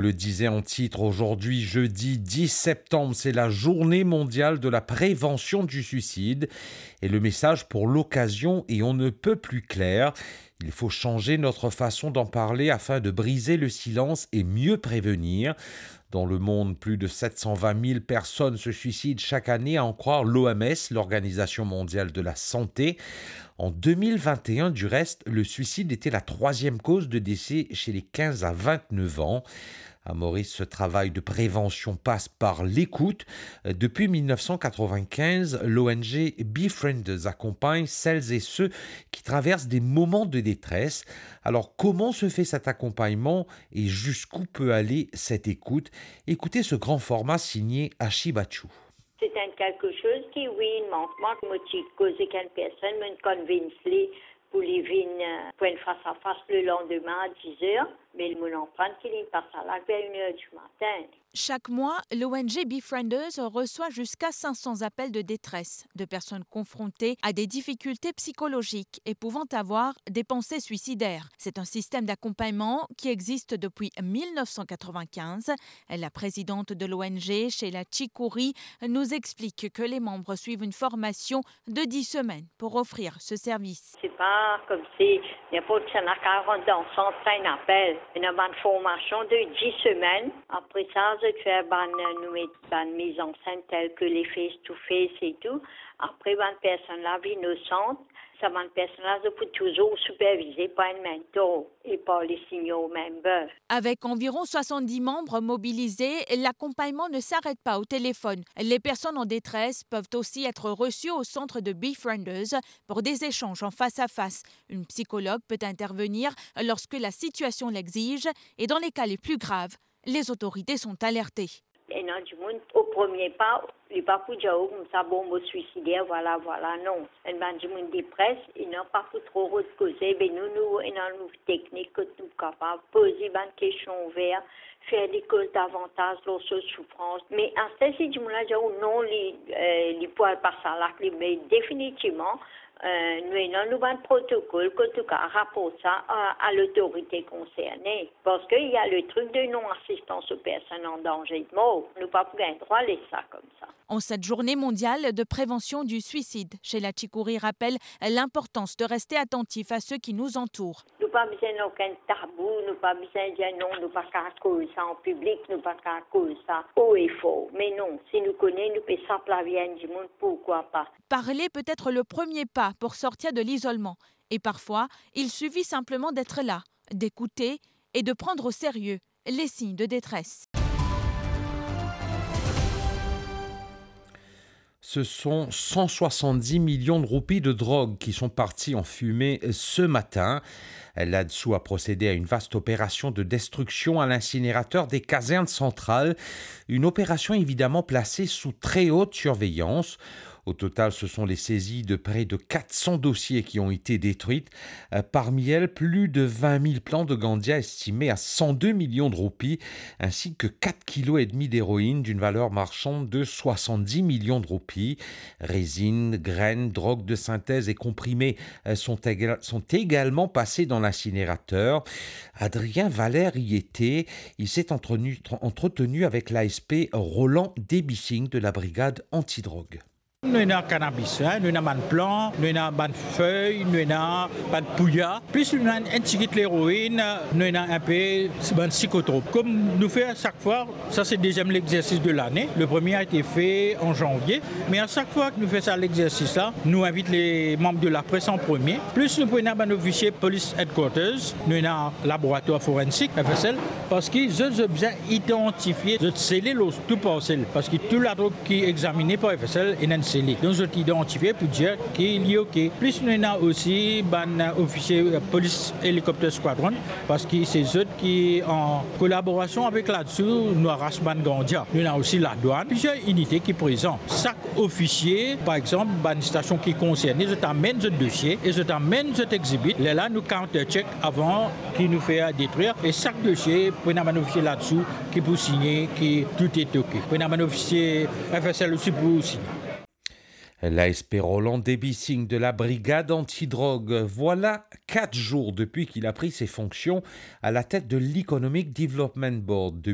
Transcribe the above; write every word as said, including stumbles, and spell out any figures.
Le disait en titre, aujourd'hui, jeudi dix septembre, c'est la journée mondiale de la prévention du suicide. Et le message pour l'occasion est on ne peut plus clair. Il faut changer notre façon d'en parler afin de briser le silence et mieux prévenir. Dans le monde, plus de sept cent vingt mille personnes se suicident chaque année, à en croire l'O M S, l'Organisation mondiale de la santé. En deux mille vingt et un, du reste, le suicide était la troisième cause de décès chez les quinze à vingt-neuf ans. À Maurice, ce travail de prévention passe par l'écoute. Depuis mille neuf cent quatre-vingt-quinze, l'O N G Befrienders accompagne celles et ceux qui traversent des moments de détresse. Alors, comment se fait cet accompagnement et jusqu'où peut aller cette écoute ? Écoutez ce grand format signé Ashi Bachou. Se enn kelke soz ki, wi, mank mwa. Mo ti koz ek enn personn, mo'nn convince li pou li vinn, eh, pou enn fas a fas le landime a diz er, me mo'nn aprann ki li pa ti la ver enn er dimatin. Chaque mois, l'O N G Befrienders reçoit jusqu'à cinq cents appels de détresse de personnes confrontées à des difficultés psychologiques et pouvant avoir des pensées suicidaires. C'est un système d'accompagnement qui existe depuis mille neuf cent quatre-vingt-quinze. La présidente de l'O N G, Sheila Chikuri, nous explique que les membres suivent une formation de dix semaines pour offrir ce service. Se pa koumsi ninport ki sa ena karant dan sant, sa inn apel. Ena bann formasion de dis semenn. Apre sa, zot fer bann, nou met bann mizansenn tel ke le face to face e tou. Apre, bann personn la vinn o sant. Sa bann personn la, zot pou touzour sipervize par enn mentor e par le senior member. Avec environ soixante-dix membres mobilisés, l'accompagnement ne s'arrête pas au téléphone. Les personnes en détresse peuvent aussi être reçues au centre de Befrienders pour des échanges en face à face. Une psychologue peut intervenir lorsque la situation l'exige et dans les cas les plus graves, les autorités sont alertées. Ena dimoun, o premie pa, li pa pou dir, "Oh, koumsa, bon, mo swiside, vwala, vwala." Non. Enn bann dimoun depres, ena pa pou tro rod koze, be nou, nou ena nou teknik kot nou kapav poze bann kestion ouver, fer li koz davantaz lor so soufrans. Me aster si dimoun la dir ou non, li, eh, li pou al pas sa la, li, me definitivman, eh, nou ena nou bann protokol kot nou kapav raport sa a, a lotorite konserne. Parski ena le trik de non-asistans o personn an danze de mor. Nou pa pou gagn drwa les sa koumsa. En cette journée mondiale de prévention du suicide, Sheila Chikuri rappelle l'importance de rester attentif à ceux qui nous entourent. Nou pa bizin ena okenn tabou, nou pa bizin dir non, nou pa kapav koz sa an piblik, nou pa kapav koz sa o e for. Me non, si nou kone nou pe sap lavi enn dimoun, pourkwa pa? Parler peut être le premier pas pour sortir de l'isolement. Et parfois, il suffit simplement d'être là, d'écouter et de prendre au sérieux les signes de détresse. Ce sont cent soixante-dix millions de roupies de drogue qui sont parties en fumée ce matin. L'ADSOU a procédé à une vaste opération de destruction à l'incinérateur des casernes centrales. Une opération évidemment placée sous très haute surveillance. Au total, ce sont les saisies de près de quatre cents dossiers qui ont été détruites. Euh, parmi elles, plus de vingt mille plants de ganja estimés à cent deux millions de roupies, ainsi que quatre kilos et demi d'héroïne d'une valeur marchande de soixante-dix millions de roupies. Résine, graines, drogues de synthèse et comprimés, euh, sont éga-, sont également passés dans l'incinérateur. Adrien Valère y était. Il s'est entretenu, entretenu avec l'A S P Roland Debissing de la brigade antidrogue. Nou ena kanabis, hein, nou ena bann plan, nou ena bann fey, nou ena bann pouya, plis nou ena enn tigit leroin, nou ena inpe bann psikotrop. Kom nou fer sak fwa, sa se deziem lexersis de lane. Le premie a ete fe an zanvie, me a sak fwa ki nou fer sa lexersis la, nou invit le manb de lapres an premie. Plis nou pou ena bann ofisie Police Headquarters, nou ena laboratwar forensik, F S L, parski zot, zot bizin idantifie, zot sele lor tou parsel, parski tou ladrog ki examine par F S L ena enn sele. Donk zot idantifie pou dir ki li oke. Plis nou ena osi bann ofisie, euh, Police Helicopter Squadron, parski se zot ki an kolaborasion avek l'ADSOU, nou aras bann ganja. Nou ena osi ladwann, plizier inite ki prezan. Sak ofisie, par exanp, bann stasion ki konserne, zot amenn zot dosie e zot amenn zot exhibit. Lerla nou counter check avan ki nou fer detrir. E sak dosie, pou ena bann ofisie l'ADSOU ki pou signe ki tout est ok. Pou ena bann ofisie F S L osi pou signe. L'A S P Roland démissionne de la brigade antidrog. Voilà quatre jours depuis qu'il a pris ses fonctions à la tête de l'Economic Development Board.